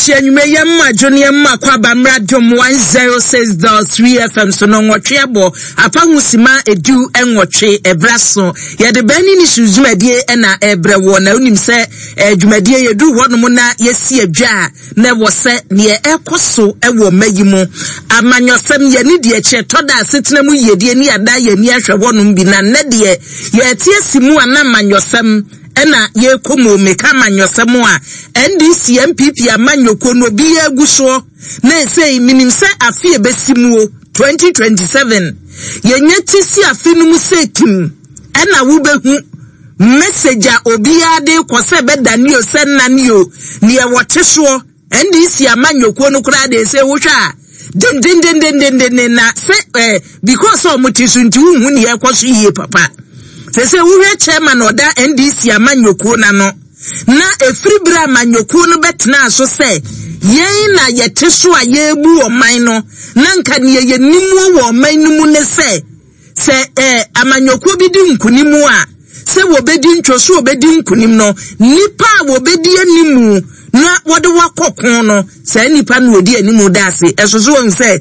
Adehye anwummerɛ yɛn mma dwo ne yɛn mma kɔ aba mmra dwom 106.3 FM so no nwɔtwe abɔ apa ho sima edu nwɔtwe ɛbra so yɛde bɛn ne ne su dwumadie ɛna ɛbrɛ wɔ na wonim sɛ eh, dwumadie yɛduru hɔnom na yɛsi adwa a na ɛwɔ sɛ neɛ ɛkɔ so ɛwɔ mma yi mu amanyɔsɛm yɛne deɛ kyerɛ tɔ da asetena mu yiedie ne yɛada yɛni ahwɛ hɔnom bi na nnɛ deɛ yɛte asi mu a na amanyɔsɛm Ɛna yɛkɔ mu meka amanyɔsɛm a NDC NPP amanyɔkuo no obiara gu soɔ na ɛsei menim sɛ afe ɛbɛsi muo 2027 yɛnya ti si afe no mu sɛ kim ɛna wobɛhu message a obiara de kɔ sɛ bɛdane o sɛ nnane o neɛ wɔte soɔ NDC amanyɔkuo no koraa deɛ sɛ wohwɛ a dendendendendenden na sɛ eh, because sɛ wɔn ti so nti wohu nea ɛkɔ so yie papa sɛ sɛ wohwɛ chairman ɔda NDC amanyɔkuo n'ano na efiri bere amanyɔkuo no bɛtena so sɛ yɛn na yɛte so a yɛrebu ɔman no na nka nea yɛnim wɔ ɔman no mu ne sɛ Sɛ eh, amanyɔkuo bi di nkunim a, sɛ wɔbɛdi ntwo so wɔbɛdi nkunim no, nnipa a wɔbɛdi animu na wɔde wakɔ ko no, saa nnipa no wɔdi animu da ase. Ɛso so wɔn sɛ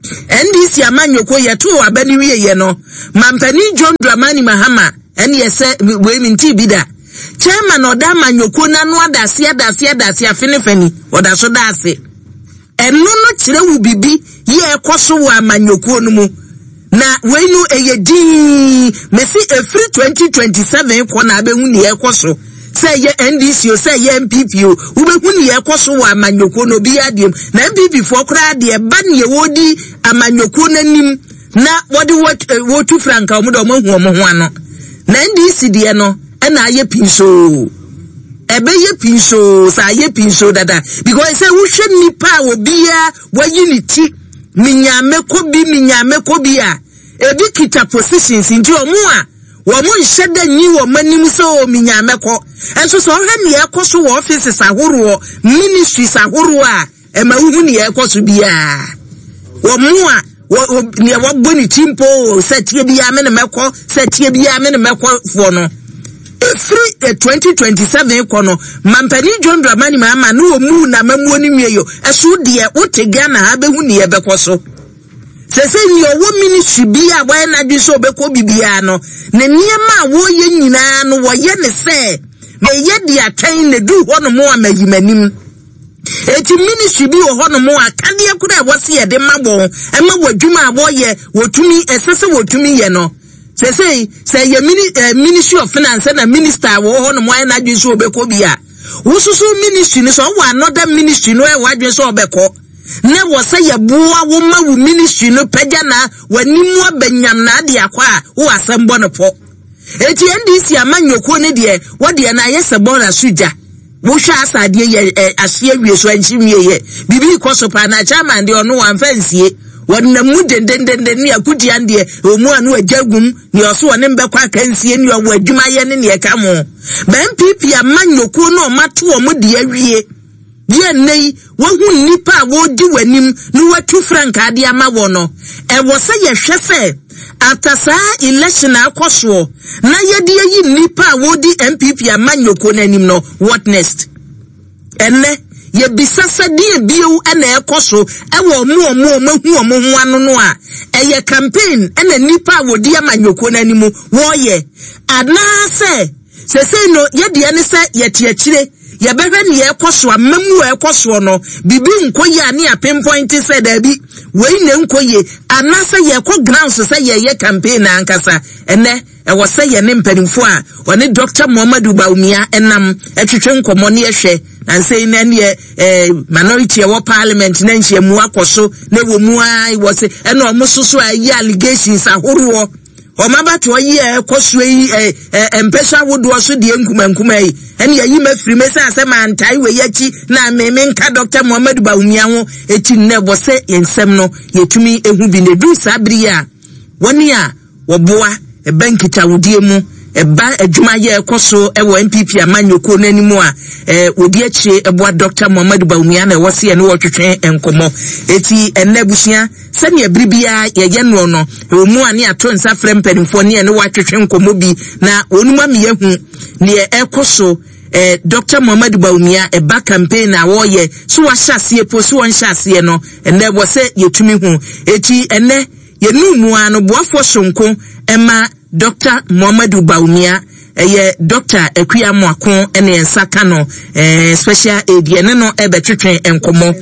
NDC amanyɔkuo yɛtoo aba no wieɛ no, Mampanin John Dramani Mahama ɛne ɛsɛ wei mentii bi da. Chairman ɔda amanyɔkuo no ano adase adase adase afe ne fa ni, ɔda so da ase. Ɛno no kyerɛ wo biribi yɛ ɛkɔ so wɔ amanyɔkuo no mu. Na wei no ɛyɛ dinn. Mese ɛfiri 2027 kɔ na abɛhu nea ɛkɔ so. Sɛ ɛyɛ NDC o, sɛ ɛyɛ NPP o, wobɛhu nea ɛkɔ so wɔ amanyɔkuo no obiara deɛ mu. Na NPP foɔ koraa deɛ ɛba nea wɔdi amanyɔkuo no anim na wɔde wɔtu franka wɔn de wɔn ahu wɔn ho ano. Na NDC deɛ no ɛna ayɛ pinsoo. Ɛbɛyɛ pinsoo sɛ ayɛ pinsoo dada because sɛ wohwɛ nipa a obiara wayi ne ti minya mɛkɔ bi minya mɛkɔ bi a ebi kita positions nti wɔn a wɔn nhyɛ da nyi wɔn anim sɛ o minya mɛkɔ nso sɛ ɔhwɛ nea ɛkɔ so wɔ offices ahoroɔ ministries ahoroɔ a Ɛma wohu nea ɛrekɔ so biara. Wɔn a nea wɔbɔ ne ti mpo sɛ tie biara me ne mɛkɔ sɛ tie biara me ne mɛkɔ foɔ no. Ɛfiri 2027 eh, kɔ no, Mampanin John Dramani Mahama ne wɔn mu na mamuo no nwie yo. Ɛso deɛ wote Ghana ha bɛhu nea ɛbɛkɔ so. Sɛ sɛ nea ɔwɔ ministry bi a wɔayɛ n'adwene sɛ ɔbɛkɔ bibiara no, ne nneɛma a wɔreyɛ nyinaa no wɔyɛ ne sɛ meyɛ de atwɛn na du hɔ nom a mayi m'anim. Eti ministry bi wɔ hɔnom a akadeɛ koraa a ɛwɔ sɛ yɛde ma wɔn ɛma wɔ adwuma a wɔyɛ wɔtumi ɛsɛ sɛ wɔtumi yɛ no. Sɛsɛyi sɛ ɛyɛ mini eh, ministry of finance na minister a wɔwɔ hɔnom ayɛ n'adwene sɛ ɔbɛkɔ bi a wososo ministry no sɛ ɔwɔ another ministry no ɛwɔ adwene sɛ ɔbɛkɔ na wɔ sɛ yɛboa wo ma wo ministry no pagya na w'anim abɛnyam na ade akɔ a wowɔ asɛm bɔ no pɔ. Eti NDC amanyɔkuo no deɛ wɔdeɛ no ayɛ sɛ bɔɔla so gya. Wohwɛ asa adeɛ yɛ ɛ ahye awie so ɛnhye nwie yɛ. Biribi rekɔ so paa na chairman deɛ ɔno wamfa nsie. Wɔnam mu dendendenden ne akutian deɛ ɛwɔ mu a no agya gum neɛ ɔso ɔne mbɛkɔ akansie ne ɔwɔ adwuma yɛ ne neɛ ɛka ho. Ba NPP amanyɔkuo no ɔmato wɔn deɛ awie. Yɛ nnɛ yi, woahu nnipa a wɔredi w'anim na woatu frankaa de ama wɔn no, ɛwɔ sɛ yɛhwɛ sɛ after saa election a akɔ soɔ na yɛde ayi nnipa a wɔredi NPP amanyɔkuo no anim no, what next? Ɛnnɛ, yɛbisa sɛ deɛ bio na ɛkɔ so ɛwɔ ɔmo ɔmo ɔmo ahu ɔmo ho ano no a, ɛyɛ campaign ɛna nnipa a wɔdi amanyɔkuo no anim wɔreyɛ anaasɛ Seesei no, yɛ deɛ ne sɛ yɛte akyire, yɛbɛhwɛ nea ɛrekɔ so, amammuo a ɛrekɔ soɔ no, biribi nkɔ yie a ne yɛapinpointe sɛ daabi, wei na ɛnkɔ yie, anaasɛ yɛrekɔ grounds sɛ yɛreyɛ campaign no ankasa. Ɛnnɛ, ɛwɔ sɛ yɛne mpanimfoɔ a wɔne Dɔkta Muhammadu Bawumia nam twetwe nkɔmmɔ ne yɛhwɛ. Nansa yi na ɛneɛ eh, minority ɛwɔ parliament na nhyiamu akɔ so na ɛwɔ mu ara wɔ se ɛna wɔn soso a ɛyɛ allegations ahoroɔ. Wɔn abatoɔ yi a ɛkɔ soɔ yi ɛ ɛ mpɛsɛ ahodoɔ so deɛ nkumankuma yi ɛne ayi ma firi me sɛ asɛ mantae wei akyi na me menka Dr. Muhammadu Bawumia ho eti nnɛ wɔ sɛ yɛn nsɛm no yɛtumi ehu bi na eduru saa bere yi a wɔne a wɔboa ɛba nkitahodie mu ɛba adwuma yɛ ɛkɔ so ɛwɔ NPP amanyɔkuo no anim a ɛɛ wɔdi akyire ɛboa Dr. Muhammadu Bawumia na ɛwɔ se ɛne wɔtwetwe nkɔmɔ eti ɛnnɛ abusua Sɛnea bere biara yɛyɛ noɔ no, ɛwɔ mu a ne yɛato nsa frɛ mpanimfoɔ ne yɛne wɔatwetwe nkɔmmɔ bi na wɔn mu ama yɛahu neɛ ɛrekɔ so. eh, Dr. Muhammadu Bawumia ɛba campaign a wɔreyɛ so wahyɛ aseɛ po so wɔnhyɛ aseɛ no ɛnɛ wɔ sɛ yɛtumi hu. Eti ɛnɛ yɛnu mu ara no boafoɔ sonko ɛma Dɔkta Muhammadu Bawumia, ɛyɛ Dɔkta Akua Amoako na yɛn nsa ka no, eh, special aid, yɛne no ɛbɛtwetwe nkɔmmɔ.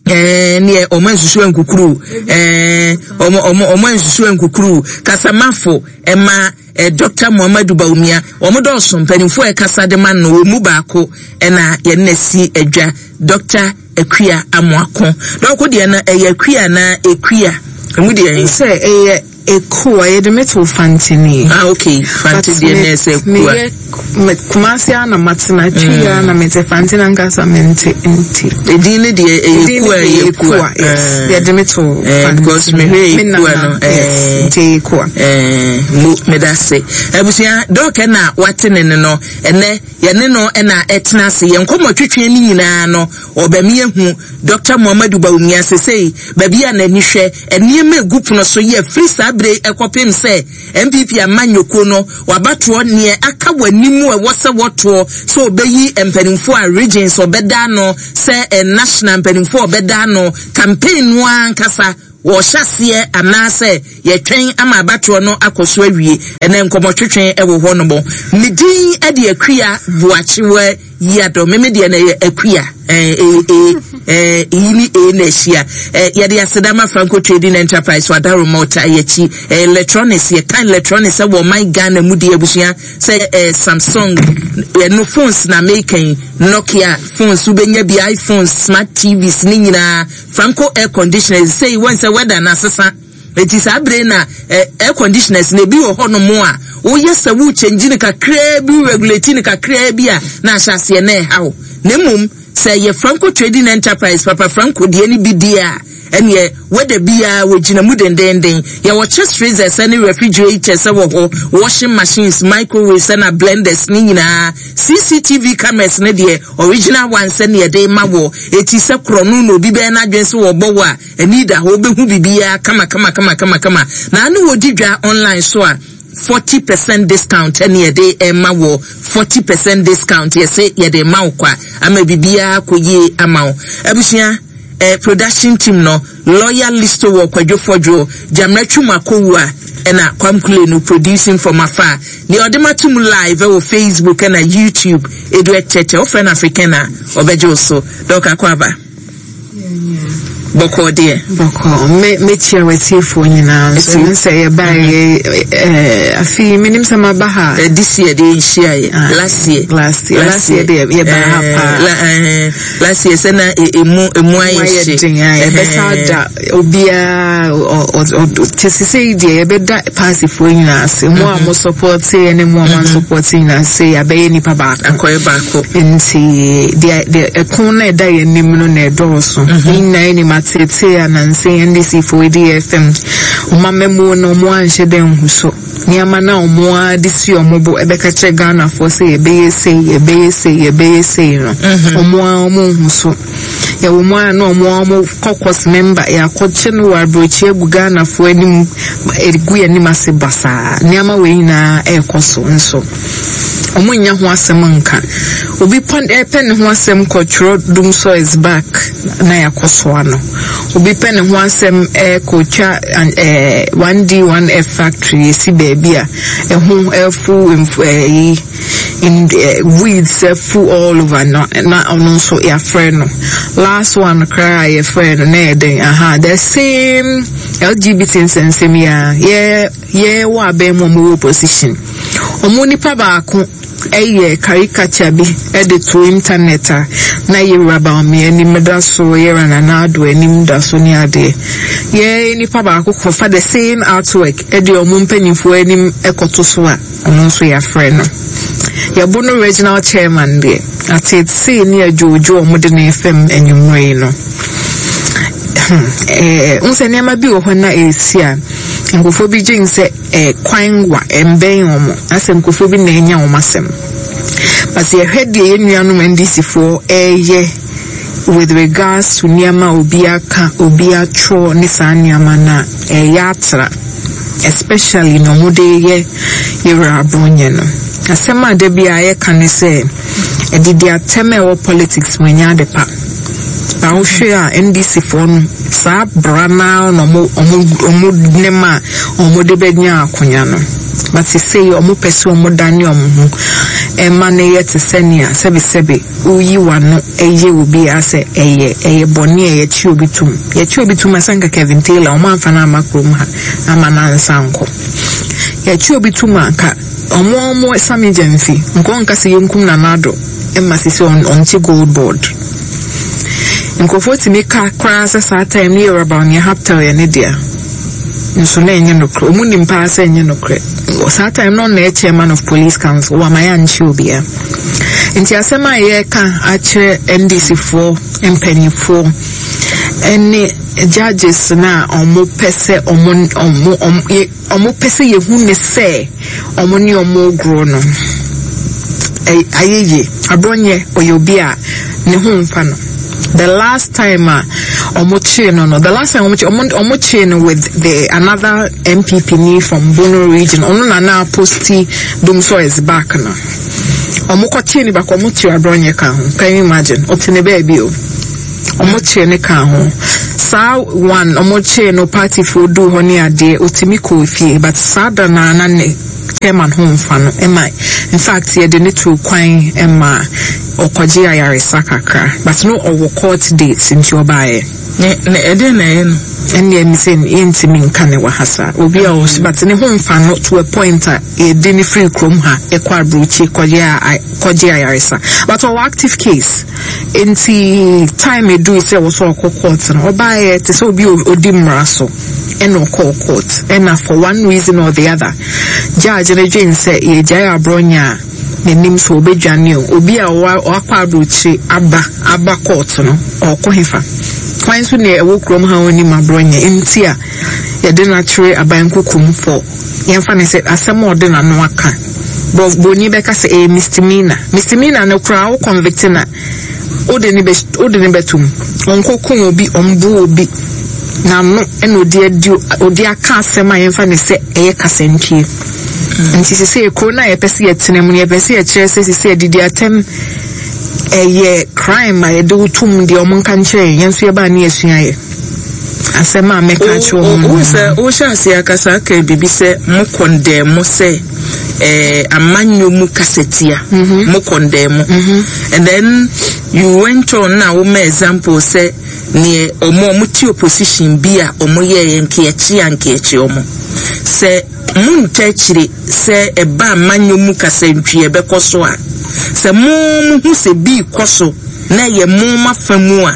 Eh, neɛ ɔmo ansusu ankukuru, eh, ɔmo ɔmo ɔmo ansusu ankukuru, kasamafo ɛma eh, Dɔkta Muhammadu Bawumia, ɔmo dɔɔso mpanimfoɔ a ɛkasa de ma no, wɔn mu baako ɛna yɛne na si adwa, Dɔkta Akua Amoako. Dɔko deɛ no ɛyɛ Akua anaa Ekua? Emu deɛ. Sɛ ɛyɛ Ekua, yɛde me too Fantini. Ah, okay. Fante deɛ na ɛsɛ Ekua. Meyɛ me Kumasi ara na matena, Twi ara na mete, Fante na nkasa mente nti. Edin ne deɛ ɛyɛ Ekua, ɛyɛ Ekua. Yes, eh. yɛde me too eh, Fantini. Because mehwɛ Ekua no. Yes, nti ɛyɛ Ekua. Eh, mo meda se. Abusua, dɔɔkɛ na wate ne no no, ɛnɛ yɛne no na ɛtena ase. Yɛn nkɔmmɔ twetwe ne nyinaa no, ɔbɛmi ehu Dɔkta Muhammadu Bawumia sesei baabi a n'ani hwɛ nneɛma egu pono so yɛ firi saa bere yi kɔpem sɛ NPP amanyɔkuo no wabatoɔ neɛ aka wɔ anim ɛwɔ sɛ wɔtoɔ sɛ ɔbɛyi mpanimfoɔ a regions ɔbɛda ano sɛ national mpanimfoɔ ɔbɛda ano campaign no ara ankasa wɔhyɛ aseɛ anaasɛ yɛtwɛn ama abatoɔ no akɔ so awie. Ɛnɛ nkɔmmɔtwetwe wɔ hɔ nom. Me din de Akua Boakyewa Yiadɔ. Me me deɛ no ɛyɛ Akua. Eh, eh, eh, eh, iyi ne e na ahyia. Eh, yɛde aseda ma Franco Trading Enterprise wɔ Adaroma ɔta yɛakyi. Eh, electronics, yɛka electronics wɔ ɔman Ghana mu deɛ abusua sɛ eh, Samsung, ɛno phones na meka yi, Nokia phones, wobɛnya bi, iPhones, smart TVs ne nyinaa. Franco air conditioners sei wɔn sɛ weather na asesa eti saa bere na eh, air conditioners na ebi wɔ hɔ nom a woyɛ sɛ wo change no kakraa bi wo regulate no kakraa bi a na ahyɛ aseɛ na ɛha wo na mmom sɛ yɛ Franco Trading Enterprise Papa Franco deɛ no bi deɛ a ɛneɛ weather biara wɔgyina mu dendenden yɛwɔ chest freezers ne refrigerators wɔ hɔ washing machines microwaves na blenders ne nyinaa CCTV cameras ne deɛ Original one sɛ nea yɛde rema woɔ. Eti sɛ korɔno na obi bɛyɛ n'adwene sɛ wɔbɔ wo a, ani da hɔ, wobɛhu biribiara kama kama kama kama kama. Na ano wɔdi dwa online so a, 40% discount ɛne yɛde rema woɔ. 40% discount yɛse yɛde rema wo kwa ama biribiara akɔ yie ama wo. Abusua, eh, production team no, Lawyer Listo wɔ Kwadwo Fɔdwo, Gyamera Twum Akowua ɛna Kwam Kule no producing from afar. Nea ɔde ma to mu live ɛwɔ Facebook ɛna YouTube Edu Ɛkyɛkyɛ wofrɛ no African a ɔbɛgye wo so. Dɔk Akwaaba. Bɔkɔɔ deɛ. Bɔkɔɔ. Me mekyia w'atiefoɔ nyinaa nso. Ɛno sɛ yɛbaeɛ ɛɛ afei menim sɛ maba ha. Eh, this year deɛ nhyia yɛ. Ah, last year. Last year. Last year deɛ yɛbaa ha paa. Last year sɛ na emu emu ayɛ hye. Den a yɛbɛsa da obiara kyɛ sɛ sɛ deɛ yɛbɛda paasifoɔ nyinaa ase. Mo a mo support yɛ ne mo a mo support nyinaa sɛ yɛabɛyɛ nipa baako. Akɔyɛ baako. Nti deɛ deɛ ɛko na ɛda yɛn anim no na ɛdɔɔso. Yɛn nyinaa yɛnim ateetee a nansa yi NDC foɔ di yɛ fam. Wɔn amammuo no wɔn anhyɛ da nhu so. Nneɛma no a wɔn ara de si wɔn bo ɛbɛka kyerɛ Ghanafoɔ sɛ yɛbɛyɛ sei, yɛbɛyɛ sei, yɛbɛyɛ sei no, wɔn ara wɔn nhu so. Yɛwɔ mu a na wɔn ara wɔn kɔkɔs mɛmba yɛakɔkye no wɔ aburokyi agu Ghanafoɔ anim, ɛgu yɛn anim ase basaa. Nneɛma wei nyinaa ɛrekɔ so nso. Wɔn nnya ho asɛm nka. Obi pɔ ɛpɛ ne ho asɛm kɔtwerɛ Dumsor is back na yɛakɔsoa no. Obi pɛ ne ho asɛm ɛkɔtwa ɛɛ 1D 1F factory esi baabi a ɛho ɛfu mf ɛyi weeds ɛfu all over no na ɔno nso yɛafrɛ no. Last one koraa a yɛfrɛ no na yɛ dɛn aha the same LGBT nsɛnsɛm yi ara yɛ yɛ wɔ abɛn mu a wɔwɔ opposition. Wɔn nipa baako yɛ caricature bi de to internet a na Yewura Bawumia anim da so, Yewura Nana Addo anim da so ne adeɛ. Yɛ nipa baako kɔfa the same artwork de wɔn mpanimfoɔ anim kɔto so a, ɔno nso yɛafrɛ no. Yɛbo no regional chairman deɛ, ateetee ne adwoodwoo a wɔde no refam anwummerɛ yi no. Hmm, eh, wohu sɛ nneɛma bi wɔ hɔ na ɛresi a, nkurɔfoɔ bi dwen sɛ eh, kwan wa, ɛmbɛn wɔn, asɛ nkurɔfoɔ bi na anya wɔn asɛm. But sɛ yɛhwɛ deɛ yɛn nuanom NDC foɔ ɛreyɛ with regards to nneɛma a obi aka, obi atwerɛ ne saa nneɛma no a, ɛyɛ atra. Especially na wɔde yɛ Yɛwura Abronye no. Asɛm a da biara yɛka ne sɛ, Adidi atɛm a ɛwɔ politics mu ɛnyɛ ade pa. Na wohwɛ a NDC foɔ no saa bra no ara na ɔmo ɔmo ɔmo nem a ɔmo de bɛnya akonya no. But sesei ɔmo pɛ sɛ ɔmo dane ɔmo ho ɛma no yɛ te sɛ nea sɛbe sɛbe woyi w'ano ɛyɛ obi a sɛ ɛyɛ ɛyɛ bɔne a yɛkye obi tum. Yɛkye obi tum a sɛ nka Kevin Taylor ɔmo amfa no amma kurom ha ama no ansa ankɔ. Yɛkye obi tum a nka Ɔmo a ɔmo same gyamfi nka ɔnka sɛ yɛnkum Nana Addo mma sisi ɔnte gold board. Nkurɔfoɔ tumi ka koraa sɛ saa time no yɛwura Bawumia Haptel yɛ ne dea. Nso na ɛnyɛ nokorɛ. Ɔmo nim paa sɛ ɛnyɛ nokorɛ. Saa time no ɔno na ɛyɛ chairman of police council. Wama yɛankye obiara. Nti asɛm a yɛreka akyerɛ NDC foɔ mpanimfoɔ ɛne judges no a ɔmo pɛ sɛ ɔmo ɔmo ɔmo Wɔpɛ sɛ yɛhu ne sɛ wɔn ne wɔn regorɔ no ayɛ yie. Abrɔnyɛ ɔyɛ obi a ne ho mfa no. The last time a wɔkyee no no, the last time wɔn wɔn wɔkyee no with the another NPP ni from Bono region. Ɔno na na posti Dumsor is back no. Wɔn kɔkyee no baako, wɔn kyee Abrɔnyɛ ka ho. Can you imagine? Ɔte ne baabi o. Ɔmo kyee no kaa ho. Saa one ɔmo kyee no party foɔ duu hɔ ne adeɛ otumi kɔɔ fie but saa da no ara na ne chairman ho nfa no ɛma infact yɛde no tuu kwan ma ɔkɔgyee ayaresa kakra but no ɔwɔ court date nti ɔbaeɛ. Ne ne ɛdeɛn na ɛyɛ no? Ɛndeɛ me sɛ yɛntumi nka ne wɔ ha saa obi a ɔwɔ but ne ho nfa no to a point a yɛde no firi kurom ha ɛkɔ abrokyi kɔgye a kɔgye ayaresa but ɔwɔ active case. Enti time edui sɛ ɛwɔ sɛ ɔkɔ court no, ɔbaeɛ te sɛ obi a ɔdi mmara so ɛna ɔkɔɔ court. Ɛna for one reason or the other, judge no dwen sɛ yɛgyae aborɔnyɛ a n'anim so ɔbɛdwane o. Obi a wakɔ aburokyire aba aba court no, ɔrekɔ hefa? Hwan nso na ɛwɔ kurom ha a ɔnnim aborɔnyɛ nti a yɛde no akyere aban kokom for yɛmfa no sɛ asɛm a ɔde n'ano aka. Bɔ broni bɛka sɛ ɛyɛ misdemeanor. Misdemeanor no koraa wo convict no a, wode no bɛ wode no bɛto mu. Ɔnkɔkum obi, ɔmbo obi. N'ano ɛna ɔde adi ɔde aka asɛm a yɛmfa no sɛ ɛyɛ kasantwie. Nti sesei kuro no a yɛpɛ sɛ yɛtena mu no yɛpɛ sɛ yɛkyerɛ sɛ sesei adidi atɛm ɛyɛ crime a yɛde wo tom deɛ ɔmo nka nkyerɛ yɛn, yɛn nso yɛbaa ne yɛsua yɛ. Asɛm a mɛka akyerɛ wɔn no. Wohu sɛ wohyɛ aseɛ akasa aka biribi sɛ mo kɔndɛɛ mo sɛ eh, amanyɔ mu kasatia. Mm-hmm. Mo kɔndɛɛ mo. Mm-hmm. And then you went on na woma example sɛ neɛ ɔmo ɔmo te opposition bi a ɔmo yɛɛ nkeɛkye a nkeɛkye ɔmo. Sɛ mo nta akyire sɛ ɛba amanyɔ mu kasantwie ɛbɛkɔ so a, sɛ mo mo hu sɛ bi kɔ so na ɛyɛ mo mafa mu a,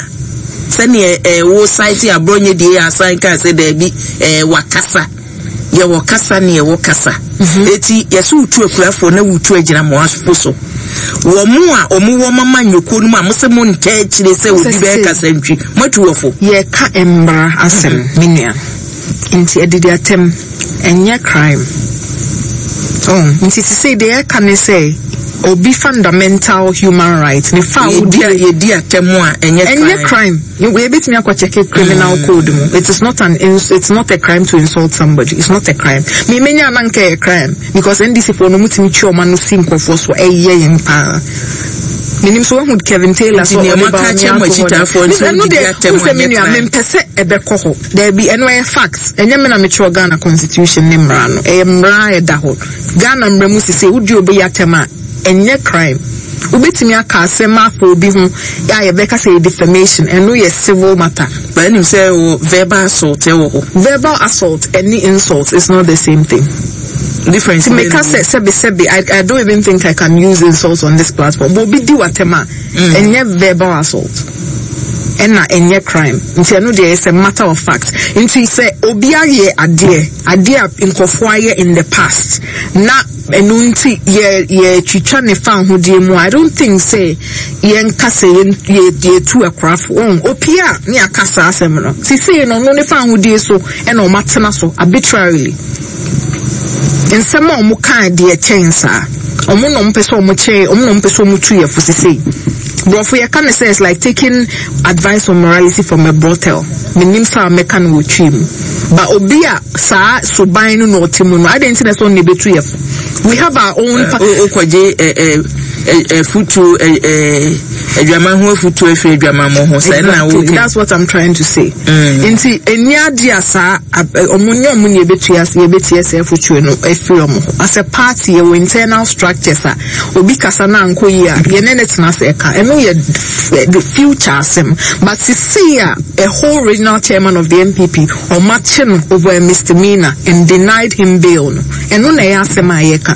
sɛdeɛ ɛɛ wo site aborɔnyɛ die yɛ asan kaa sɛ daabi ɛɛ wakasa yɛwɔ kasa ne yɛwɔ kasa mhm. eti yɛsɛ wotu akurafoɔ na wotu agyinamoafo so wɔn mo a wɔn wɔ mama nyokuo no mu a mo sɛ mo nta akyire sɛ obi bɛyɛ kasa ntwi mo atu wɔ fo. Yɛka mmara asɛm mhm. me nua nti adidi atɛm ɛnyɛ crime oh nti sisei deɛ yɛka ne sɛ obi fundamental human right ne fa a wodi yɛdi atɛm a ɛnyɛ crime ɛnyɛ crime yɛbɛtumi akɔ check criminal code mu it is not an it's not a crime to insult somebody it's not a crime me menya na nka ɛyɛ crime because NDC foɔ no mutumi twe ɔma no si nkurɔfoɔ so ɛyɛ yɛn paa menim so wahu Kevin Taylor so ɔde ba ɔne ato hɔ ɛno deɛ wohu sɛ me nua mempɛ sɛ ɛbɛkɔ hɔ Daabi, ɛno ɛyɛ fact. Ɛnyɛ me na metwerɛ Ghana constitution ne mmara no. Ɛyɛ mmara a ɛda hɔ. Ghana mmara mu sesei wodi obi atɛm a, ɛnyɛ crime. Wobɛtumi aka asɛm afa obi ho a yɛbɛka sɛ ɛyɛ defamation, ɛno yɛ civil matter. But wonim sɛ wɔ verbal assault ɛwɔ hɔ. Verbal assault ɛne insult is not the same thing. Difference Nti meka sɛ sɛbe sɛbe, I, I don't even think I can use insult on this platform. But obi di w'atɛm a, ɛnyɛ verbal assault ɛna ɛnyɛ crime nti ɛno deɛ it's a matter of fact nti sɛ obi ayɛ adeɛ adeɛ a nkurɔfoɔ ayɛ in the past na ɛno nti yɛ yɛtwitwa ne fa ahodeɛ mu I don't think sɛ yɛnka sɛ yɛn yɛ yɛtu akorafo wɔn opie a ne aka saa asɛm no sisei no ɔno ne fa ahodeɛ so ɛna wɔn atena so arbitrarily. Nsɛm a wɔn kaa deɛ kyɛn saa. Wɔn na wɔn pɛ sɛ wɔn kyɛn, wɔn na wɔn pɛ sɛ wɔn tu yɛ fo sesei. Borɔfo yɛ ka no sɛ it's like taking advice on morality from a brothel. Menim saa a mɛka no wɔ Twi mu. But obi a saa suban no na ɔte mu no, adɛn nti na ɛsɛ ɔno na ɛbɛtu yɛ fo? We have our own. Okɔgye afutuo, adwaman ho afutuo afiri adwamammɔ ho sɛ ɛna wo. That's what I'm trying to say. Nti ɛni adi a saa ɔmo nyɛ ɔmo na yɛbɛtua yɛbɛtie sɛ afutuo no afiri ɔmo ho. As a party, yɛwɔ internal structures a obi kasa na ankɔ yie a, yɛne ne tena sɛ ɛka ɛno yɛ the future asɛm. But sisi a a whole regional chairman of the NPP, ɔmo akye no over a misdemeanor and denied him bail no, ɛno na ɛyɛ asɛm a yɛka.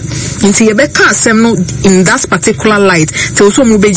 Nti yɛbɛka asɛm no in that particular light till so ɔmo bɛgye.